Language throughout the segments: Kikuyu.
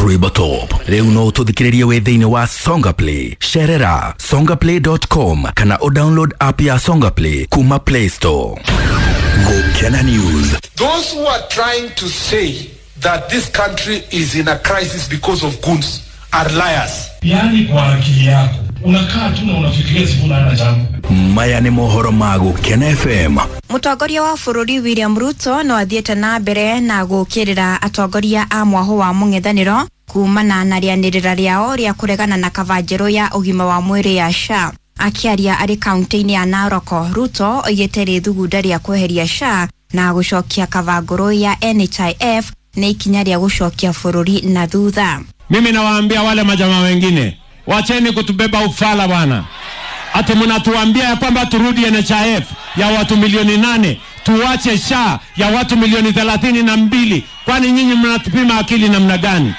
Rwĩmbo Top. Rĩu no ũtũthikĩrĩrie wĩ thĩinĩ wa Songa Play. Cerera songaplay.com kana ũdownload app ya Songa Play kuma Play Store. Gũkena News. Those who are trying to say that this country is in a crisis because of goons are liars. Yaani kwa akili yako unakaa tu na unafikiria Sifuna hana jambo. Maya nĩ mohoro ma Gũkena FM. Mũtongoria wa bũrũri William Ruto no athiĩte na mbere na gũkĩrĩra atongoria a mwahũ wa mũng'ethanĩro kumana na rĩanĩrĩra rĩao rĩa kũregana na kaba njerũ ya ũgima wa mwĩrĩ ya SHA. Akĩaria arĩ kaunti-inĩ ya Narok, Ruto oigĩte rĩthugunda rĩa kweheria SHA na gũcokia kaba ngũrũ ya NHIF nĩ ikinya rĩa gũcokia bũrũri na thutha. Mimi nawaambia wale majamaa wengine, wacheni kutubeba ufala bwana. Ati mnatuambia ya kwamba turudi NHIF ya watu milioni 8, tuwache SHA ya watu milioni 32. Kwani nyinyi mnatupima akili namna gani?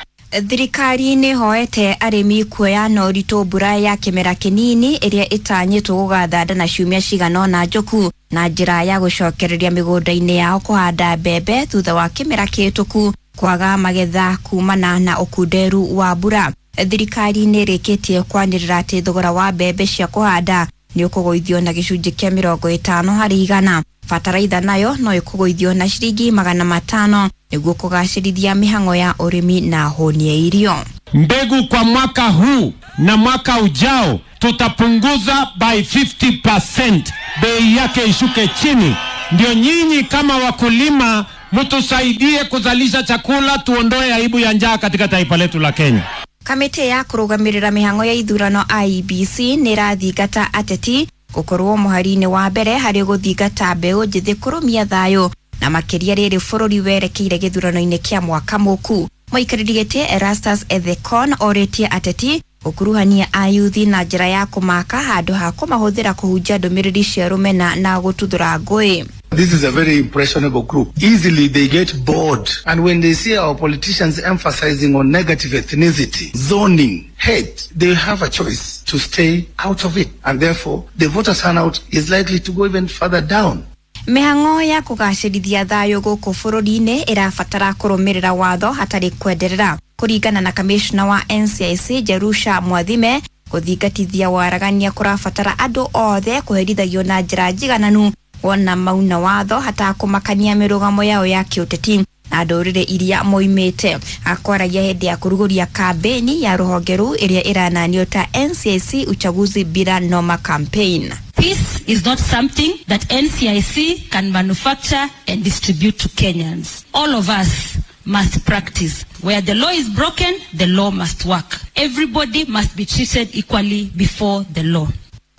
Thirikari nĩ hoete arĩmi kuoya na ũritũ mbura ya kĩmera kĩnini ĩrĩa ĩtanyĩtwo gũgathanda na ciumia cigana ũna njũku na njĩra ya gũcokereria mĩgũnda-inĩ yao kũhanda mbembe thutha wa kĩmera kĩhĩtũku kwaga magetha kumana na ũkunderu wa mbura. Thirikari nĩ ĩrĩkĩtie kwanĩrĩra atĩ thogora wa mbembe cia kũhanda nĩ ũkũgũithio na gĩcunjĩ kĩa 50%. Bataraitha nayo no ĩkũgũithio na ciringi 500 nĩguo kũgacĩrithia mĩhang'o ya ũrĩmi na hũni ya irio. Mbegu kwa mwaka huu na mwaka ujao tutapunguza by 50%, bei yake ishuke chini, ndio nyinyi kama wakulima mtusaidie kuzalisha chakula, tuondoe aibu ya njaa katika taifa letu la Kenya. Kamĩtĩ ya kũrũgamĩrĩra mĩhang'o ya ithurano IEBC nĩ ĩrathingata ateti gũkorwo mũhari-inĩ wa mbere harĩ gũthingata mbeũ njĩthĩ kũrũmia thayũ na makĩria rĩrĩ bũrũri werekeire gĩthurano-inĩ kĩa mwaka mũku. Mũikarĩri gĩtĩ Erastus Ethekon orĩtie ateti gũkuruhania ayuthi na njĩra ya kũmaka handũ ha kũmahũthĩra kũhunjia ndũmĩrĩri cia rũmena na gũtuthũra ngũĩ. This is a very impressionable group. Easily they get bored. And when they see our politicians emphasizing on negative ethnicity, zoning, hate, they have a choice to stay out of it. And therefore, the voter turnout is likely to go even further down. Mĩhang'o ya kũgacĩrithia thayũ gũkũ bũrũri-inĩ ĩrabatara kũrũmĩrĩra watho hatarĩ kwenderera. Kũringana na kamishna wa NCIC Jerusha Mwathime, gũthingatithia waragania kũrabatara andũ othe kũherithagio na njĩra njigananu wona mauna watho hatakũmakania mĩrũgamo yao ya kĩũteti na ndũrĩrĩ iria moimĩte. Akwaragia hĩndĩ ya kũrugũria kambĩni ya rũhonge rũu ĩrĩa ĩrananio ta NCIC uchaguzi bila noma campaign. Peace is not something that NCIC can manufacture and distribute to Kenyans. All of us must practice. Where the law is broken, the law must work. Everybody must be treated equally before the law.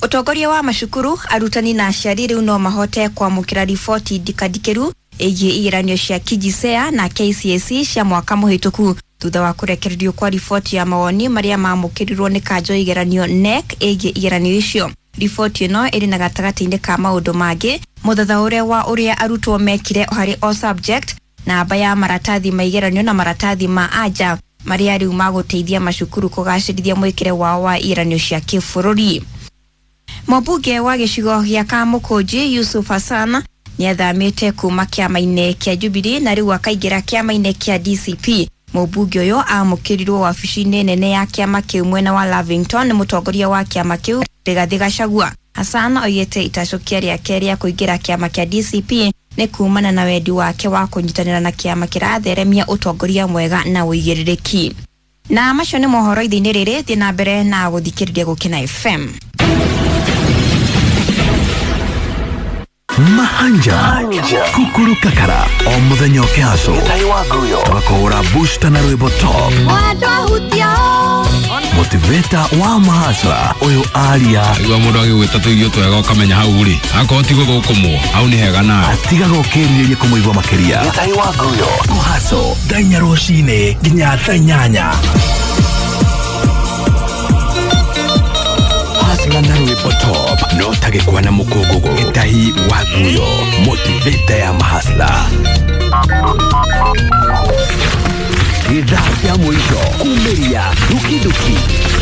Ũtongoria wa macukuru, arutani na aciari rĩu no mahote kwamũkĩra riboti ndikandikĩru ĩgiĩ igeranio cia KJSEA na KCSE cia mwaka mũhĩtũku thutha wa kũrekererio kwa riboti ya mawoni marĩa mamũkĩrirwo nĩ kanjo ya igeranio KNEC ĩgiĩ igeranio icio. Riboti ĩno ĩrĩ na gatagatĩ-inĩ ka maũndũ mangĩ mũthathaũre wa ũrĩa arutwo mekire harĩ o subject, namba ya maratathi ma igeranio na maratathi ma anja marĩa rĩu magũteithia macukuru kũgacĩrithia mwĩkĩre wao wa igeranio cia kĩbũrũri. Mũmbunge wa gĩcigo gĩa Kamũkũnji Yusuf Hassan nĩathamĩte kuma kĩama-inĩ kĩa Jubilee na rĩu akaingĩra kĩama-inĩ kĩa DCP. Mũmbunge ũyũ amũkĩrirwo wabici-inĩ nene ya kĩama kĩu mwena wa Lavington nĩ mũtongoria wa kĩama kĩu Rigathĩ Gachagua. Hassan oigĩte itacũkia rĩake rĩa kũingĩra kĩama kĩa DCP nĩ kumana na wendi wake wa kũnyitanĩra na kĩama kĩratheremia ũtongoria mwega na ũigĩrĩrĩki. Na macio nĩ mohoro ithe-inĩ rĩrĩ, thiĩ na mbere na gũthikĩrĩria Gũkena FM. Mahanja Kukuru Kakara o mũthenya ũkĩhaco tũgakũhũra booster na rwĩmbo top motiveta wa mahasra ũyũ aria igua mũndũ agĩgwĩta tũirio twega ũkamenya hau rĩ akorwo ti gũthũkũmwo hau nĩ hega nawe atigaga ũkĩrirĩria kũmũigua makĩria kũhaco thaa inya rũcinĩ nginya thaa inyanya. Hasla na rwĩmbo top no tagĩkwa na mũkũngũgũ Gĩtahi wa Nguyo motiveta ya mahasla. Gĩthaa kĩa mũico kumĩria dukiduki.